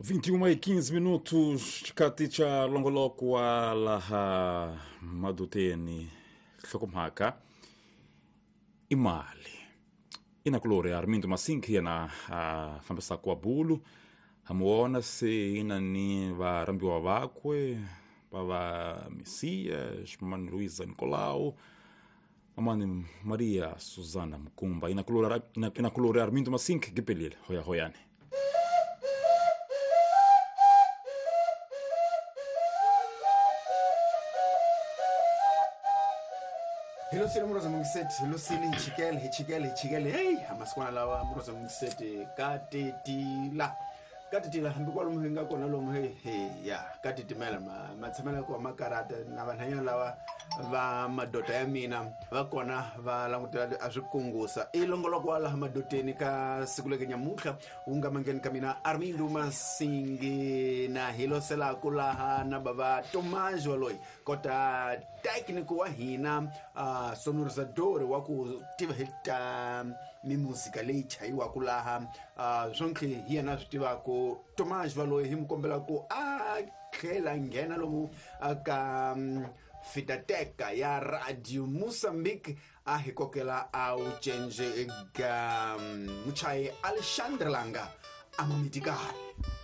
21 e 15 minutos xikati xa longoloko wa laha maduteni nhlokomhaka i mali inakulori Armindo Masinki yena a fambisaka wa bulu hamuona se ina ni varhambiwa vakwe va va Messias mamani Luisa Nicolau, mamani Maria Susana Mkumba. Inakulori Armindo Masinki gipelile hoya hoyani. Hi losile muroza mungiseti, hi losile, hi chikele, hi chikele, hi chikele. Heyi, amasikwana lawa muroza mungiseti ka titila, ka titila, hambi kwalomu hi nga kona lomu. He he ya ka titimela, matshamelo ya kona ma karata na vanhanyana lava va madoda ya mina va kona va langutela a swi kungusa. I longoloko wa laha madoteni ka siku leke nyamuntlha wu nga mangeni ka mina Armindo Masingi na hi loselaku laha na bava Tomajo loyi kota técnico wa hina, sonorizador wa ku tiva hi ta mimuzika leyi chayiwaka laha, swontlhe hi yena swi tivaku. Tomajo valoyi hi mu kombela ku a tlhela nghena lomu ka fitateka ya Radio Mozambique a hi kokela a wu cence ga muchayi Alexandre Langa a mamitikale.